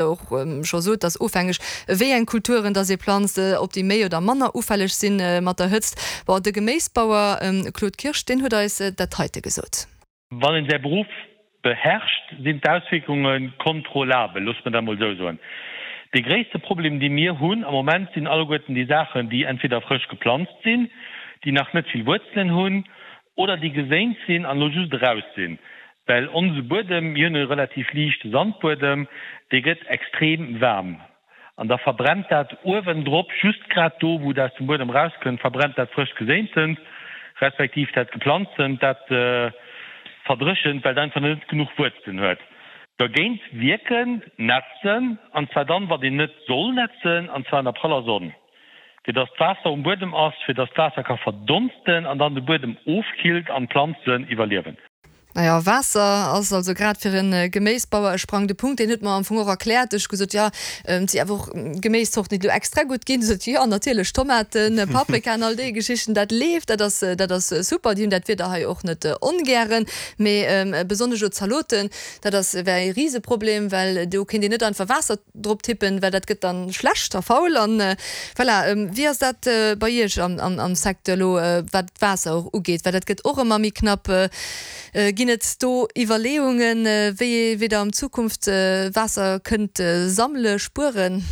Och scho sot, dass ofhängeg wéi eng Kulturen dass ee planzt, ob déi méi oder manner ufälleg si mat der Hëtzt. Bon, de Geméisbauer Claude Kirsch, deen huet eis dat heite gesot. Wann een säi Beruff beherrscht, sinn d'Auswierkunge kontrollabel, loosse mer dat emol esou soen. Dee gréisste Problem, dee mir hunn am Moment, sinn alleguerten déi Saachen, déi entweder frësch geplanzt sinn, déi nach net vill Wuerzelen hunn oder déi geséint sinn an elo just eraus sinn. Well onse Buedem, mir hunn e relativ liichte Sandbuedem, dee gëtt extrem waarm an da verbrennt dat uewendrop, just grad do wou et aus dem Buedem erauskënnt, verbrennt dat frëscht Geséintent, respektiv dat Geplanztent, dat verdréchent, well et einfach net genuch Wuerzelen huet. Dergéint wierken, nätzen, an zwar dann, wann een net soll nätzen, an zwar an der praller Sonn. fir dass d'Waasser um Buedem ass, fir dass d'Waasser ka verdonsten an dann de Buedem ofkillt an d'Planzen iwwerliewen. Naja, Waasser ass also grad fir e Geméisbauer e sprangende Punkt. Deen huet mer am Fong och erkläert. Ech hu gesot, jo, et si awer och Geméiszorten, déi elo extra gutt ginn. Sot hie, jo, natierlech, Tomaten, Paprikaen, all déi Geschichten, dat leeft, dat ass, dat ass super. Déi hunn dat Wieder hei och net ongären. Mee besonnesch elo d'Zaloten, dat ass, wär e Riseproblem, well do kéint een net einfach Waasser drop tippen, well dat gëtt dann schlecht a faul an voilà. Wéi ass dat bei Iech am Secteur elo wat d'Waasser och ugeet, well dat gëtt och ëmmer méi knapp. Ginn et do Iwwerleeungen, wéi ee wéi Der an Zukunft Waasser kënnt sammele, spueren?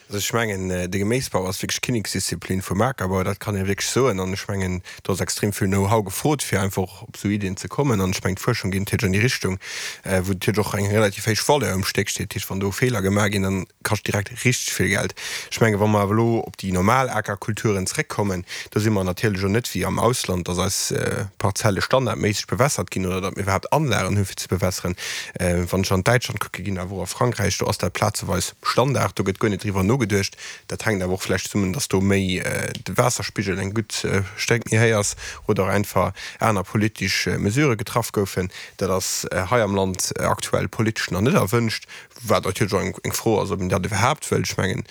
Also ech mengen, de Geméisbau ass wierklech d'Kinneksdisziplin vum Akerbau, dat kann ee wierklech soen. An ech mengen, do ass extrem vill Know-how gefrot, fir einfach och op esou Iddien ze kommen. An ech mengen, d'Fuerschung geet natierlech an déi Richtung, wou natierlech och eng relativ héich Valeur um Stéck steet. Dat heescht, wann do Feeler gemaach ginn, dann kascht direkt richteg vill Geld. Ech mengen, wa mer awer elo op déi normal Akerkulturen zréckkommen, do si mer natierlech och net wéi am Ausland, dass eis Parzelle standardméisseg bewässert ginn oder datt mir iwwerhaapt Anlagen hu fir ze bewässeren. Wann ech an Däitschland kucke ginn, awer och a Frankräich, do ass dat plazeweis Standard, do gëtt guer net driwwer nogeduecht. Dat hänkt awer och vläicht zesummen, datt do méi de Waasserspigel eng gutt Stéck méi héich ass oder och einfach aner politesch Mesurë getraff goufen. Dat ass hei am Land aktuell politesch nach net erwënscht, wat natierlech och eng Fro ass, ob een dat iwwerhaapt wëllt. Ech mengen,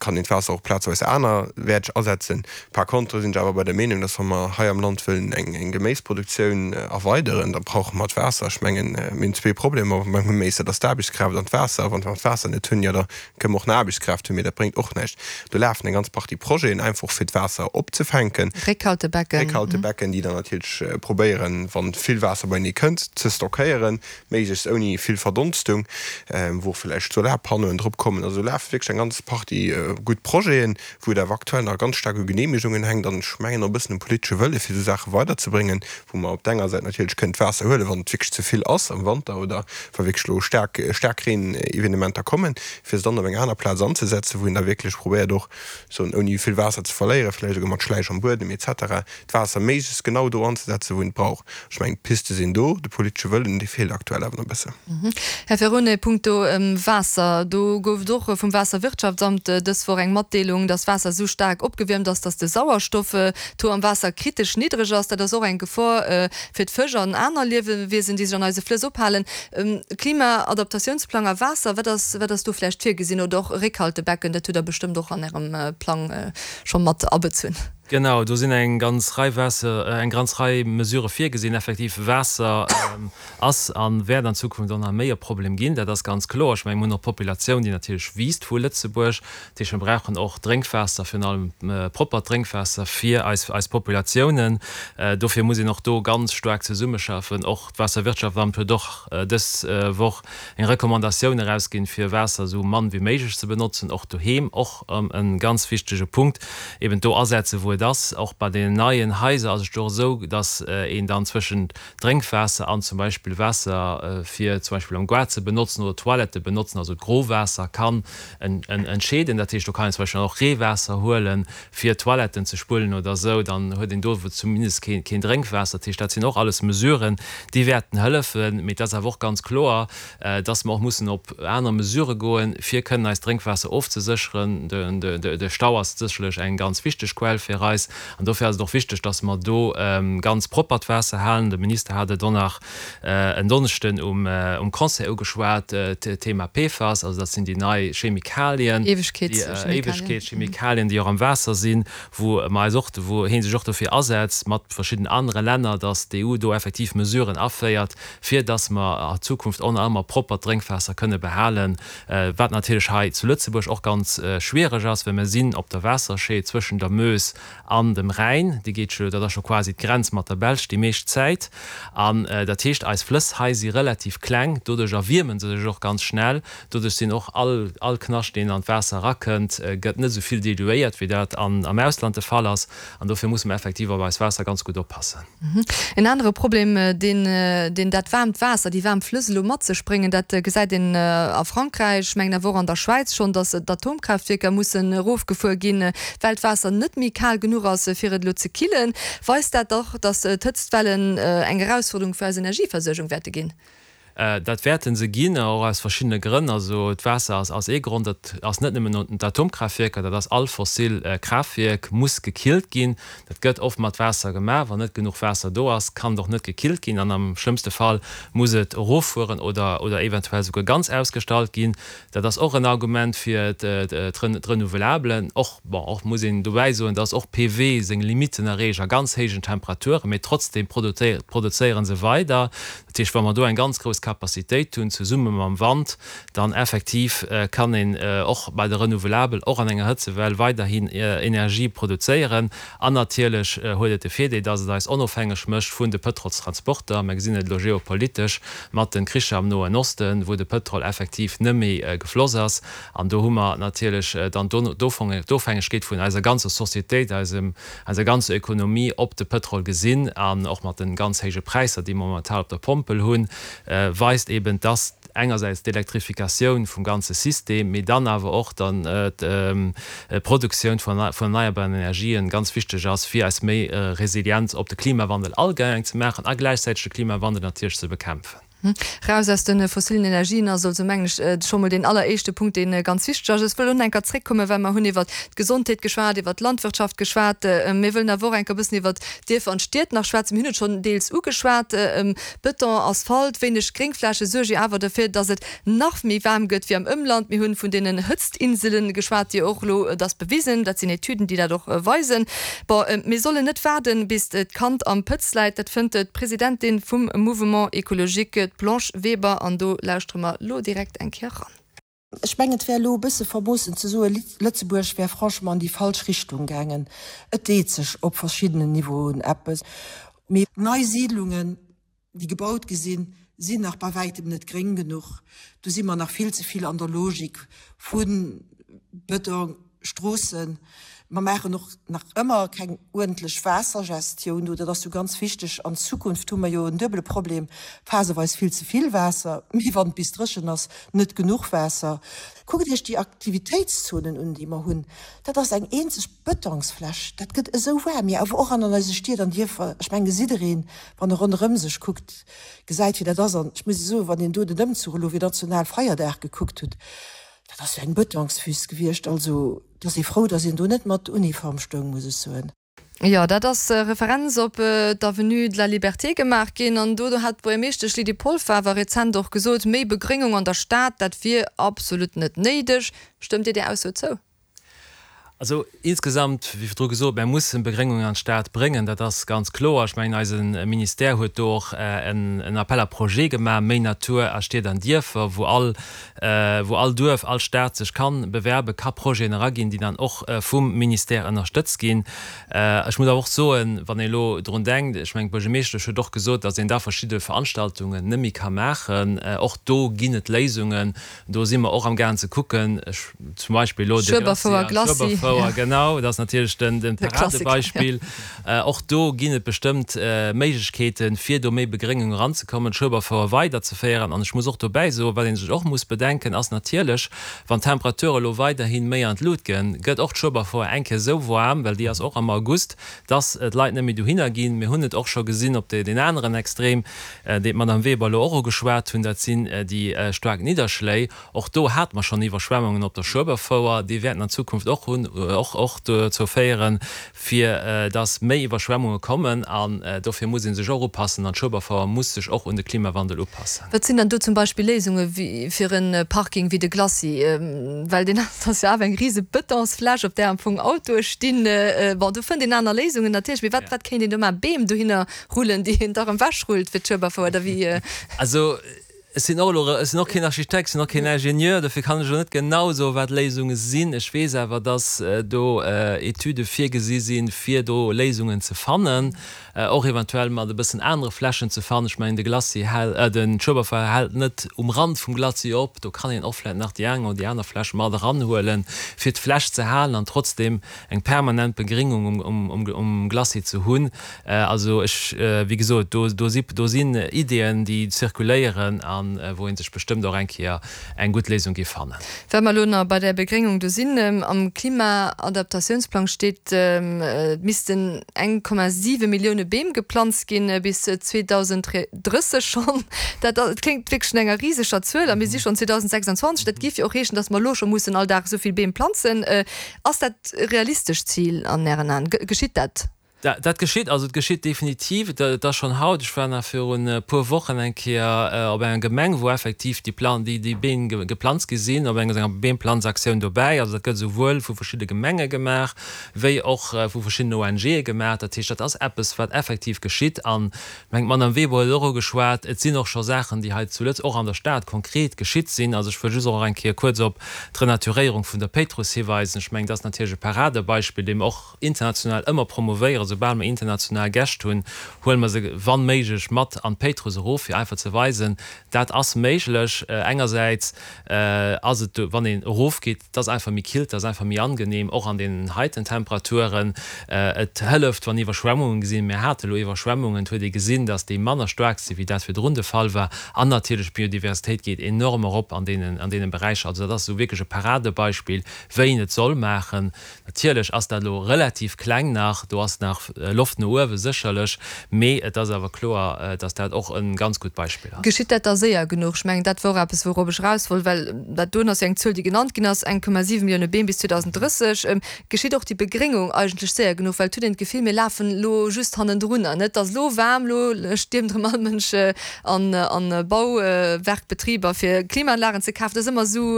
kann een d'Waasser och plazeweis anerwäerteg asetzen. Par contre sinn ech awer bei der Meenung, dass wa mer hei am Land wëllen eng Geméisproduktioun erweideren, da brauche mer d'Waasser. Ech mengen, mir hunn zwee Problemer beim Geméis, dat ass d'Aarbechtskraaft an d'Waasser. A wa mer d'Waasser net hunn, jo da kënne mer och nach Aarbechtskraaft hunn, mee dat bréngt och näischt. Do lafen eng ganz Partie Projeten einfach fir d'Waasser opzefänken. Réckhaltebecken. Réckhaltebecken, déi dann natierlech probéieren, wa vill Waasser beienee kënnt, ze stockéieren, méiglechst ouni vill Verdonstung, wou och vläicht Solarpannoen drop kommen. Also do lafe wierklech eng ganz Partie gutt Projeten. wou et awer aktuell nach ganz staark u Genehmegungen hänkt an ech mengen och e bëssen um politesche Wëlle fir esou Saache weiderzebréngen, wou mer op der enger Säit natierlech kënnen d'Waasser huelen, wann et wierklech ze vill ass am Wanter oder wa wierklech elo staark Staarkreenevenementer kommen, fir se dann op eng aner Plaz anzesetzen, wou een da wierklech probéiert och soen ouni vill Waasser ze verléieren, vläicht esouguer mat Schläich am Buedem et cetera, d'Waasser méiglechst genau do anzesetzen, wou een et brauch. Ech mengen, d'Piste sinn do, de politesche Wëllen, dee feelt aktuell awer nach e bëssen. Här Ferone, punkto Waasser, do gouf et och vum Waasserwirtschaftsamt dës Woch eng Matdeelung, dass d'Waasser esou staark opgewiermt ass, dass de Sauerstoff-Taux am Waasser kritesch niddreg ass. Dat ass och eng Gefor fir d'Fësch an aner Liewewiesen, déi sech an eise Flëss ophalen. Klimaadaptatiounsplang a Waasser, wat ass, wat ass do vläicht virgesinn? Oder och Réckhaltebecken, dat hutt Der bestëmmt och an Ärem Plang scho mat abezunn. Genau, do sinn eng ganz Rei Waasser, eng ganz Rei Mesurë virgesinn. Effektiv, Waasser ass a wäert an Zukunft och nach méi e Problem ginn, dat ass ganz kloer. Ech mengen, mir hunn och d'Populatioun, déi natierlech wiisst vu Lëtzebuerg. Dat heescht, mir brauchen och Drénkwaasser, virun allem proppert Drénkwaasser fir eis, eis Populatiounen. Dofir muss een och do ganz staark zesummeschaffen. Och d'Waasserwirtschaftsamt huet och dës Woch eng Recommandatioun erausginn, fir Waasser esou mann wéi méiglech ze benotzen, och doheem, och e ganz wichtege Punkt, eben do asetzen, wou et ass. Och bei deenen neien Haiser ass et jo och esou, dass een dann zwëschent Drénkwaasser an zum Beispill Waasser, fir zum Beispill am Gaart ze benotzen oder Toilette benotzen, also d'Growaasser, kann entscheeden. Dat heescht, do kann een zum Beispill dann och Reewaasser huelen, fir Toiletten ze spullen oder esou, dann huet een do zumindest keen Drénkwaasser. Dat heescht, dat sinn och alles Mesuren, déi wäerten hëllefen. Mee et ass awer och ganz kloer, dass mer och mussen op aner Mesurë goen, fir kënnen eist Drénkwaasser ofzesécheren. De Stau ass sécherlech eng ganz wichteg Quell fir eis. eis. An dofir ass et och wichteg, dass mer do ganz proppert Waasser halen. De Minister hat et och nach en Donneschden um Conseil ugeschwat, d'Thema PFAS, also dat sinn déi nei Chemikalien, Éiwegkeetschemikalien, déi och am Waasser sinn, wou mer eis och, wou hee sech och dofir asetzt mat verschiddenen anere Länner, dass d'EU do effektiv Mesuren aféiert, fir dass mer a Zukunft och nach ëmmer proppert Drénkwaasser kënne behalen, wat natierlech hei zu Lëtzebuerg och ganz schwiereg ass, well mer sinn op der Waasserscheed zwëschen der Meuse an dem Rhäin, déi geet jo, dat ass scho quasi d'Grenz mat der Belsch déi meescht Zäit. An dat heescht, eis Flëss hei si relativ kleng, doduerch erwierme se sech och ganz schnell, doduerch sinn och all all Knascht, deen an d'Waasser erakënnt, gëtt net esou vill diluéiert, wéi dat an am Ausland de Fall ass. An dofir musse mer effektiv op eist Waasser ganz gutt oppassen. En anere Problem, deen deen dat waarmt Waasser, déi waarm Flëss elo mat sech bréngen, dat gesäit een a Frankräich, ech mengen awer och an der Schwäiz schonn, datt d'Atomkraaftwierker mussen erofgefuer ginn, well d'Waasser net méi kal genuch ass, fir et elo ze killen. Weist dat dach, datt d'Hëtztwellen eng Erausforderung fir eis Energieversuergung wäerte ginn. Dat wäerte se ginn, och aus verschiddene Grënn. Also d'Waasser ass ee Grond. Dat ass net nëmmen d'Atomkraaftwierker, dat ass all fossil Kraaftwierk muss gekillt ginn. Dat gëtt oft mat Waasser gemaach. Wann net genuch Waasser do ass, kann et och net gekillt ginn an am schlëmmste Fall muss et eroffueren oder oder eventuell souguer ganz ausgestallt ginn. Dat ass och en Argument fir d'Renouvelabelen. Och, bon, och muss een dobäi soen, dass och PV seng Limitten erreecht a ganz héijen Temperaturen, mee trotzdem produzéiere se weider. Dat heescht, wa mer do eng ganz grouss Capacitéit hunn, zesumme mam Wand, dann effektiv kann een och bei de Renouvelabel och an enger Hëtzewell weiderhin Energie produzéieren. An natierlech huet et de Virdeel, dass et eis onofhängeg mécht vun de Pëtrolstransporter. Mir gesinn et elo geopolitesch mat de Kricher am Noen Osten, wou de Pëtrol effektiv net méi gefloss ass. An do hu mer natierlech dann d'Ofhängegkeet vun eiser ganzer Societéit, eisem, eiser ganzer Ökonomie op de Pëtrol gesinn. An och mat de ganz héije Präisser, déi mer momentan op der Pompel hunn, weist eben, dass engersäits d'Elektrifikatioun vum ganze System, mee dann awer och dann d'Produktioun vun erneierbaren Energien ganz wichteg ass, fir eis méi resilient op de Klimawandel allgemeng ze maachen a gläichzäiteg de Klimawandel natierlech ze bekämpfen. Raus aus de fossilen Energien ass also, mengen ech, scho mol deen alleréischte Punkt, dee ganz wichteg ass. Ech wëll och nach eng Kéier zréckkommen, well mer hunn iwwert d'Gesondheet geschwat, iwwert d'Landwirtschaft geschwat. Mir wëllen awer och eng Kéier e bëssen iwwert d'Dierfer an d'Stied nach schwätzen. Mir hunn et schonn deels ugeschwat. Bëton, Asphalt, wéineg Gréngfläche suerge jo awer derfir, dass et nach méi waarm gëtt wéi am Ëmland. Mir hunn vun deenen Hëtztinselen geschwat, déi och elo, et ass bewisen, dat sinn Etüden, déi dat och weisen. Bon, mir sollen net waarden, bis d'Kand am Pëtz läit, dat fënnt d'Presidentin vum Mouvement Ecologique, d'Blanche Weber, an do lauschtere mer elo direkt eng Kéier eran. Ech mengen, et wär elo e bësse vermoossen ze soen, Lëtzebuerg wär franchement an déi falsch Richtung gaangen. Et deet sech op verschiddenen Niveauen eppes, mee nei Siidlungen, déi gebaut gi sinn, sinn nach bei wäitem net gréng genuch. Do si mer nach vill ze vill an der Logik vu Bëtong, Stroossen. Mer maachen och nach ëmmer keng uerdentlech Waassergestioun do. Dat ass jo ganz wichteg. An Zukunft hu mer jo en duebele Problem, phaseweis vill ze vill Waasser, mee wann et bis dréchen ass, net genuch Waasser. Kuckt Iech déi Aktivitéitszonen un, déi mer hunn. Dat ass eng eenzeg Bëtongsfläch. Dat gëtt esou waarm, mee awer och an an eise Stied an Dierfer. Ech mengen, jiddereen, wann e ronderëm sech kuckt, gesäit, wéi dat ass. An ech muss soen, wann een do den Ëmzuch elo fir Nationalfeierdag gekuckt hutt, Dat ass jo eng Bëtongswüst gewiescht. Also, et ass ee frou, datt een do net mat Uniform stoung, muss ech soen. Jo, dat ass Referenz op d'Avenue de la Liberté gemaach ginn. An do hat d'Buergermeeschtesch Lydie Polfer awer rezent och gesot, méi Begréngung an der Stad, dat wier absolut net néideg. Stëmmt Dir där Ausso zou? Also insgesamt, wéi virdru gesot, mär mussen Begréngung an d'Stad bréngen, dat ass ganz kloer. Ech mengen, eise Ministère huet do och en Appel à projets gemaach, Méi Natur a Stied an Dierfer, wou all, wou all Duerf, all Stad sech ka bewerben, ka Projeten eraginn, déi dann och vum Ministère ënnerstëtzt ginn. Ech muss awer och soen, wann ee elo drun denkt, ech mengen, d'Buergermeeschtesch huet och gesot, datt een da verschidde Veranstaltungen net méi ka maachen. Och do ginn et Léisungen. Do si mer och am gaang ze kucken, ech zum Beispill elo de Schueberfouer, Glacis, Schueberfouer, genau, dat ass natierlech den, den Paradebeispill. Och do ginn et bestëmmt Méiglechkeeten, fir do méi Begréngung eranzekommen, d'Schueberfouer weiderzeféieren. An ech muss och dobäi soen, wat ee sech och muss bedenken, ass natierlech, wann d'Temperature elo weiderhi méi an d'Lut ginn, gëtt och d'Schueberfouer eng Kéier esou waarm, well déi ass och am August, dass d'Leit net méi dohinner ginn. Mir hunn et och scho gesinn op deen aneren Extrem, deen d'Madame Weber elo och ugeschwat hunn, dat sinn déi staark Nidderschléi. Och do hate mer schonn Iwwerschwemmungen op der Schueberfouer. Déi wäerten an Zukunft och hunn. och och dozou féieren, fir dass méi Iwwerschwemmunge kommen. An dofir muss ee sech och upassen an d'Schueberfouer muss sech och un de Klimawandel upassen. Wat sinn dann do zum Beispill Léisunge fir e Parking wéi de Glacis? Well deen ass jo awer eng rise Betonsfläch, op där am Fong Autoe stinn. Bon, do fënnt een aner Léisungen natierlech, mee wat wat kéint een do maachen? Beem dohinner rullen, déi een da rëm ewechrullt fir d'Schueberfouer oder wéi? Also ech sinn och elo, ech sinn och keen Architekt, ech sinn och keen Ingenieur, dofir kann ech elo net genau soen, wat d'Léisunge sinn. Ech weess awer, dass do Etüde virgesi sinn, fir do Léisungen ze fannen, och eventuell mat e bëssen anere Flächen ze fannen. Ech mengen, de Glacis hält, den Schueberfouer hält net um Rand vum Glacis op, do kann een och vläicht nach déi eng oder déi aner Fläch mat eranhuelen, fir d'Fläch ze halen an trotzdem eng permanent Begringung um Glacis ze hunn. Also ech, wéi gesot, do, do si, do sinn Ideeën, déi zirkuléieren a wou ee sech bestëmmt och eng Kéier eng gutt Léisung géif fannen. Well mer elo nach bei där Begréngung do sinn, Am Klimaadaptatiounsplang steet, et missten 1,7 Millioune Beem geplanzt ginn bis 2030 schonn. Dat kléngt wierklech no enger riseger Zuel a mir si schonn 2026. Dat géif jo och heeschen, datt mer elo scho mussen all Dag esou vill Beem planzen. Ass dat e realistescht Zil an Ären Aen? Geschitt dat? Dat geschitt, also et geschitt definitiv. Et ass schonn haut, ech war nach virun e puer Wochen eng Kéier op enger Gemeng, wou effektiv déi Plan, déi déi Beem geplanzt gi sinn, op enger Beemplanzaktioun dobäi. Also dat gëtt esouwuel vu verschidde Gemenge gemaach, wéi och vu verschiddenen ONGe gemaach. Dat heescht, dat ass eppes, wat effektiv geschitt. An ech mengen, d'Madame Weber huet et och ugeschwat, et sinn och scho Saachen, déi hei zu Lëtz, och an der Stad konkret geschitt sinn. Also ech wëll just och eng Kéier kuerz op d'Renaturéierung vun der Péitruss hiweisen. Ech mengen, dat ass natierlech e Paradebeispill, dee mer och international ëmmer promovéieren. Soubal mer international Gäscht hunn, huele mer se wann méiglech mat an d'Péitruss erof, fir einfach ze weisen, dat ass méiglech. Engersäits ass et, wann een erofgeet, et ass einfach méi kill, et ass einfach méi angenehm, och an deenen heiten Temperaturen. Et hëlleft, wann Iwwerschwemmungen sinn. Mir hate elo Iwwerschwemmungen, et huet ee gesinn, datt déi manner staark sinn, wéi dat virdrun de Fall war. An natierlech d'Biodiversitéit geet enorm erop an deenen, an deene Beräicher. Also dat ass esou wierklech e Paradebeispill, wéi een et soll maachen. Natierlech ass dat elo relativ kleng nach, do ass nach Loft no uewe sécherlech, mee et ass awer kloer, dass dat och e ganz gutt Beispill ass. Geschitt dat da séier genuch? Ech mengen, dat wor eppes, wourop ech eraus wollt, well dat doen ass jo eng Zuel, déi genannt ginn ass, 1,7 Millioune Beem bis 2030. Geschitt och déi Begréngung eigentlech séier genuch? Well et huet een d'Gefill, mir lafen elo just hannendrunner, net? Et ass elo waarm, elo stiermt erëm all Mënsch an Bauwerkbetriber, fir Klimaanlagen ze kafen. Dat ass ëmmer esou,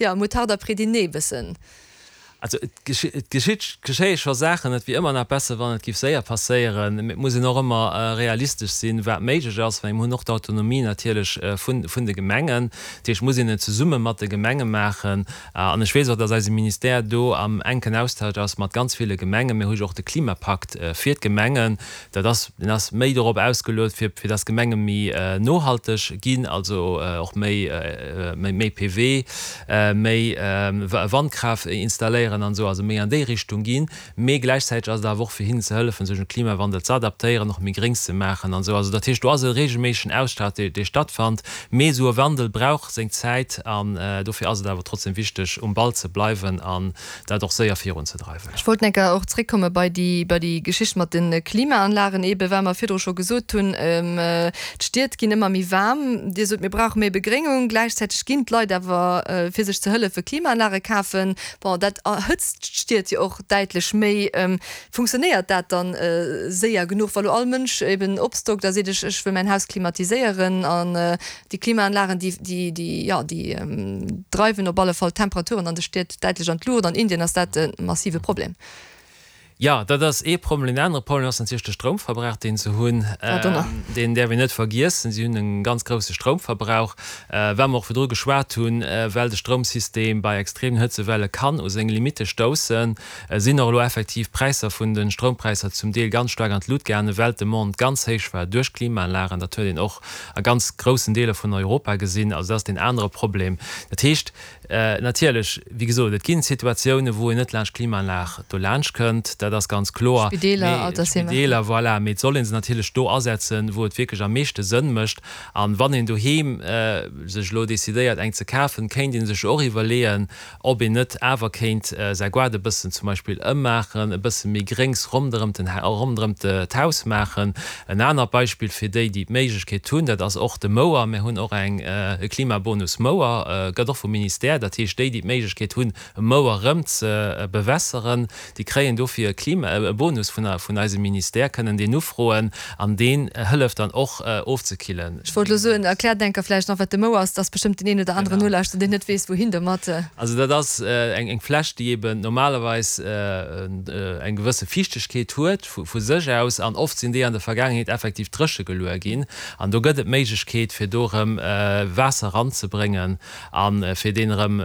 jo, Moutarde après dîner e bëssen. Also et geschitt, geschéie scho Saachen. Et wier ëmmer nach besser, wann et géif séier passéieren. Mee et muss een och ëmmer realistesch sinn, wat méiglech ass, well mir hunn och d'Autonomie natierlech vun, vun de Gemengen. Dat heescht, et muss een et zesumme mat de Gemenge maachen. An ech weess och, datt eise Ministère do am enken Austausch ass mat ganz ville Gemengen. Mir hu jo och de Klimapakt fir d'Gemengen. Dat ass, deen ass méi dorop ausgeluet, fir, fir dass Gemenge méi nohalteg ginn, also och méi, méi, méi PV, méi Wandkraaft installéieren an esou, also méi an déi Richtung ginn. Mee gläichzäiteg ass et awer och fir hinnen ze hëllefen, sech un de Klimawandel ze adaptéieren, och méi gréng ze maachen an esou. Also dat heescht, do ass e reegelméissegen Austausch, dee, dee stattfannt. Mee esou e Wandel brauch seng Zäit an dofir ass et awer trotzdem wichteg, um Ball ze bleiwen an dat och séier virunzedreiwen. Ech wollt enker och zréckkomme bei déi, bei déi Geschicht mat de Klimaanlagen eebe, well mer virdru scho gesot hunn, d'Stied ginn ëmmer méi waarm. Dir sot, mir brauche méi Begréngung. Gläichzäiteg ginn d'Leit awer, fir sech ze hëllefen, Klimaanlage kafen. Bon, dat erhëtzt d'Stied jo och däitlech méi. Funktionéiert dat dann séier genuch, wa lo all Mënsch eben opstockt a seet, ech, ech wëll mäin Haus klimatiséieren an Déi Klimaanlagen, déi, déi, déi, jo, déi dreiwen op alle Fall d'Temperaturen an de Stied däitlech an d'Luucht. An Indien ass dat e massive Problem. Jo, dat ass ee Problem. Deen anere Problem ass natierlech de Stroumverbrauch, deen se hunn. Deen däerf een net vergiessen. Si hunn e ganz grousse Stroumverbrauch, wat mer och virdru geschwat hunn, well de Stroumsystem bei extremen Hëtzewelle kann u seng Limitte stoussen, sinn och elo effektiv d'Präisser vun de Stroumpräisser zum Deel ganz staark an d'Lut gaangen, well d'Demande ganz héich war duerch d'Klimaanlagen. Dat huet een och a ganz groussen Deeler vun Europa gesinn. Also dat ass deen anere Problem. Dat heescht, natierlech, wéi gesot, et ginn Situatiounen, wou een net laanscht d'Klimaanlag do laanscht kënnt. dat ass ganz kloer. Spideeler, Altersheemer. Spideeler, voilà. Mee et soll ee se natierlech do asetzen, wou et wierklech am meeschte Sënn mécht. An wann een doheem sech elo decidéiert, eng ze kafen, kéint ee sech och iwwerleeën, ob een net awer kéint säi Goart e bëssen zum Beispill ëmmaachen, e bësse méi Gréngs ronderëm den, ronderëm d'Haus maachen. En anert Beispill fir déi, déi d'Méiglechkeet hunn, dat ass och de Mouer. Mir hunn och eng, e Klimabonus Mouer, gëtt och vum Ministère. Dat heescht, déi, déi d'Méiglechkeet hunn, e Mouer erëm ze bewässeren, déi kréien dofir e Klima, e Bonus vun, vun eisem Ministère, kënnen deen ufroen an deen hëlleft dann och ofzekillen. Ech wollt elo soen, erkläert enker vläicht nach, wat de Mouer ass. Et ass bestëmmt deen een oder aneren Nolauschterer, deen net weess, wouhin domat. Also dat ass eng, eng Fläsch, déi eben normalerweis eng gewësse Fiichtegkeet huet vu sech aus an oft sinn déi an der Vergaangenheet effektiv dréche geluer ginn an do gëtt et d'Méiglechkeet, fir do erëm Waasser eranzebréngen a fir deen erëm.